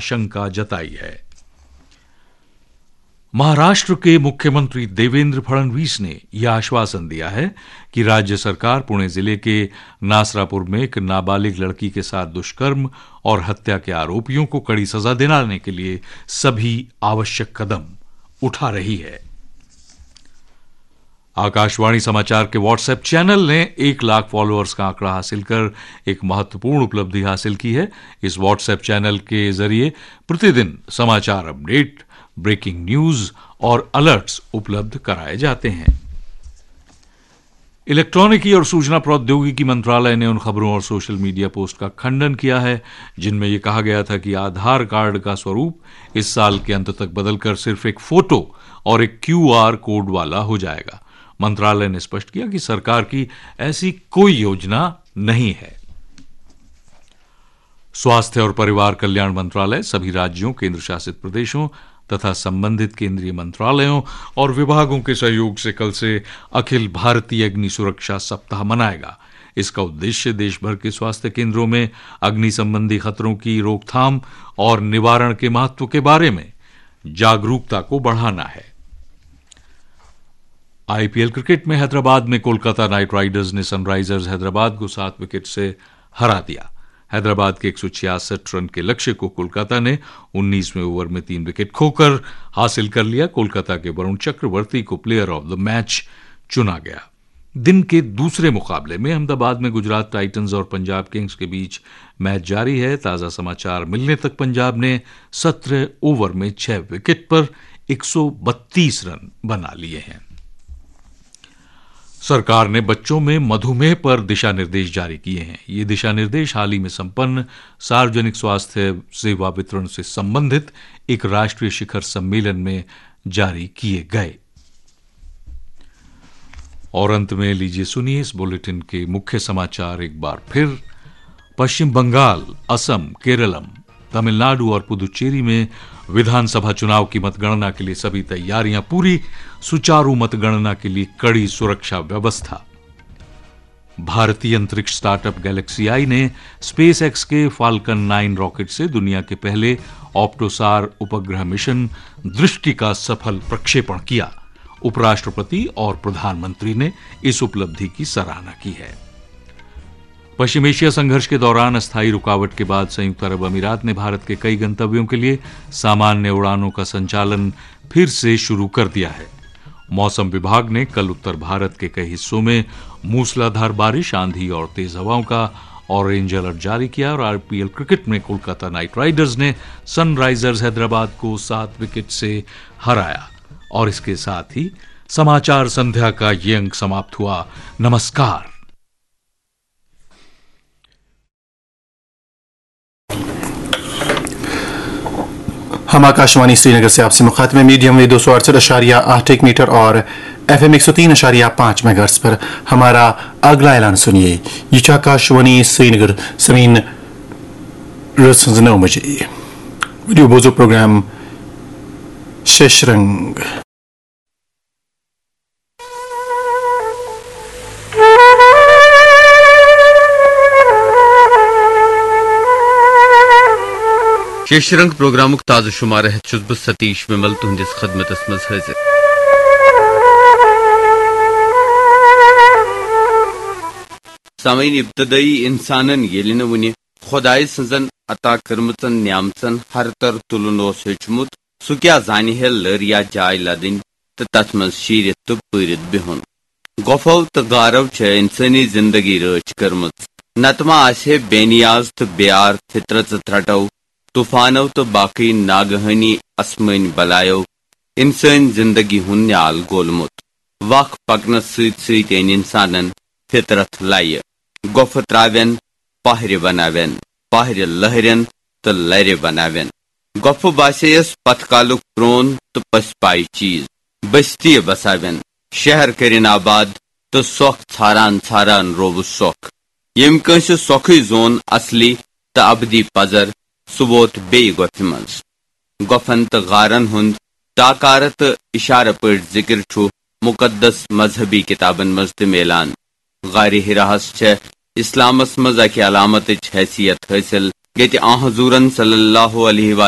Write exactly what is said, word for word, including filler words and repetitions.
आशंका जताई है। महाराष्ट्र के मुख्यमंत्री देवेंद्र फडणवीस ने यह आश्वासन दिया है कि राज्य सरकार पुणे जिले के नासरापुर में एक नाबालिग लड़की के साथ दुष्कर्म और हत्या के आरोपियों को कड़ी सजा दिलाने के लिए सभी आवश्यक कदम उठा रही है। आकाशवाणी समाचार के WhatsApp चैनल ने एक लाख फॉलोअर्स का आंकड़ा हासिल कर एक महत्वपूर्ण उपलब्धि हासिल की है। इस WhatsApp चैनल के जरिए प्रतिदिन समाचार अपडेट, ब्रेकिंग न्यूज और अलर्ट्स उपलब्ध कराए जाते हैं। इलेक्ट्रॉनिकी और सूचना प्रौद्योगिकी मंत्रालय ने उन खबरों और सोशल मीडिया पोस्ट का खंडन किया है, जिनमें यह कहा गया था कि आधार कार्ड का स्वरूप इस साल के अंत तक बदलकर सिर्फ एक फोटो और एक क्यूआर कोड वाला हो जाएगा। मंत्रालय ने स्पष्ट किया कि सरकार की ऐसी कोई योजना नहीं है। स्वास्थ्य और परिवार कल्याण मंत्रालय सभी राज्यों, केंद्र शासित प्रदेशों तथा संबंधित केंद्रीय मंत्रालयों और विभागों के सहयोग से कल से अखिल भारतीय अग्नि सुरक्षा सप्ताह मनाएगा। इसका उद्देश्य देश भर के स्वास्थ्य केंद्रों में अग्नि संबंधी खतरों की रोकथाम और निवारण के महत्व के बारे में जागरूकता को बढ़ाना है। आईपीएल क्रिकेट में हैदराबाद में कोलकाता नाइट राइडर्स ने सनराइजर्स हैदराबाद को सात विकेट से हरा दिया। हैदराबाद के एक सौ छियासठ रन के लक्ष्य को कोलकाता ने उन्नीसवें ओवर में तीन विकेट खोकर हासिल कर लिया। कोलकाता के वरुण चक्रवर्ती को प्लेयर ऑफ द मैच चुना गया। दिन के दूसरे मुकाबले में अहमदाबाद में गुजरात टाइटंस और पंजाब किंग्स के बीच मैच जारी है। ताज़ा समाचार मिलने तक पंजाब ने सत्रह ओवर में छह विकेट पर एक सौ बत्तीस रन बना लिए हैं। सरकार ने बच्चों में मधुमेह पर दिशा निर्देश जारी किए हैं। ये दिशा निर्देश हाल ही में संपन्न सार्वजनिक स्वास्थ्य सेवा वितरण से संबंधित एक राष्ट्रीय शिखर सम्मेलन में जारी किए गए। और अंत में लीजिए सुनिए इस बुलेटिन के मुख्य समाचार एक बार फिर। पश्चिम बंगाल, असम, केरलम, तमिलनाडु और पुदुचेरी में विधानसभा चुनाव की मतगणना के लिए सभी तैयारियां पूरी, सुचारू मतगणना के लिए कड़ी सुरक्षा व्यवस्था। भारतीय अंतरिक्ष स्टार्टअप गैलेक्सी आई ने स्पेसएक्स के फाल्कन नाइन रॉकेट से दुनिया के पहले ऑप्टोसार उपग्रह मिशन दृष्टि का सफल प्रक्षेपण किया। उपराष्ट्रपति और प्रधानमंत्री ने इस उपलब्धि की सराहना की है। पश्चिम एशिया संघर्ष के दौरान अस्थायी रुकावट के बाद संयुक्त अरब अमीरात ने भारत के कई गंतव्यों के लिए सामान्य उड़ानों का संचालन फिर से शुरू कर दिया है। मौसम विभाग ने कल उत्तर भारत के कई हिस्सों में मूसलाधार बारिश, आंधी और तेज हवाओं का ऑरेंज अलर्ट जारी किया और आईपीएल क्रिकेट में कोलकाता नाइट राइडर्स ने सनराइजर्स हैदराबाद को सात विकेट से हराया। और इसके साथ ही समाचार संध्या का ये अंक समाप्त हुआ। नमस्कार। हम आकाशवाणी श्रीनगर से आपसे मुखातिब हैं, मीडियम वेव दो सौ अड़सठ अशारिया आठ एक मीटर और एफएम एक सौ तीन अशारिया पाँच मेगाहर्ट्ज पर। हमारा अगला ऐलान सुनिए। ये आकाशवाणी श्रीनगर, ज़मीन रस नौ बजे। वीडियो बोजो प्रोग्राम शेषरंग। شیشرنگ پروگرامُک تازٕ شمارٕ ہٮ۪تھ چھُس بہٕ ستیش ومل تُہنٛدِس خدمتس منٛز حٲضِر۔ سامعین، ابتدٲئی انسانن ییٚلہِ نہٕ وُنہِ خۄدایہِ سٕنٛزن عطا کٔرمٕژن نعمژن ہر تر تُلُن اوس ہیوٚچھمُت، سُہ کیٛاہ زانہِ ہے لٔر یا جاے لدٕنۍ تہٕ تتھ منٛز شیٖرِتھ تہٕ پٲرِتھ بِہُن۔ گۄپھو تہٕ غارو چھےٚ انسٲنی زندگی رٲچھ کٔرمٕژ، نتہٕ ما آسہِ ہے بے نیاز تہٕ بے آر فطرژٕ ترٛٹو، طوفانو تہٕ باقٕے ناگہٲنی اسمٲنۍ بلایو انسٲنۍ زندگی ہُنٛد نیال گولمُت۔ وق پکنس سۭتۍ سۭتۍ أنۍ انسانن فطرت لیہِ، گۄپھٕ ترٛاوٮ۪ن، پہرِ بناوٮ۪ن، پہرِ لہرٮ۪ن تہٕ لرِ بناوٮ۪ن۔ گۄپھٕ باسییس پتھ کالُک پرون تہٕ پٔژھۍ پایہِ چیز۔ بستی بساوٮ۪ن، شہر کٔرِن آباد تہٕ سۄکھ ژھاران ژھاران رووُس سۄکھ۔ ییٚمۍ کٲنٛسہِ سۄکھٕے زون اصلی تہٕ ابدی پزر، سُہ ووت بیٚیہِ گۄپھِ منٛز۔ گۄپھن تہٕ غارن ہُنٛد ٹاکارٕ تہٕ اشارٕ پٲٹھۍ ذکر چھُ مقدس مذہبی کتابن منٛز تہِ میلان۔ غارِ حراہس چھےٚ اسلامس منٛز اکہِ علامتٕچ حیثیت حٲصِل۔ ییٚتہِ آ حضوٗرن صلی اللہ علیہ وآلہ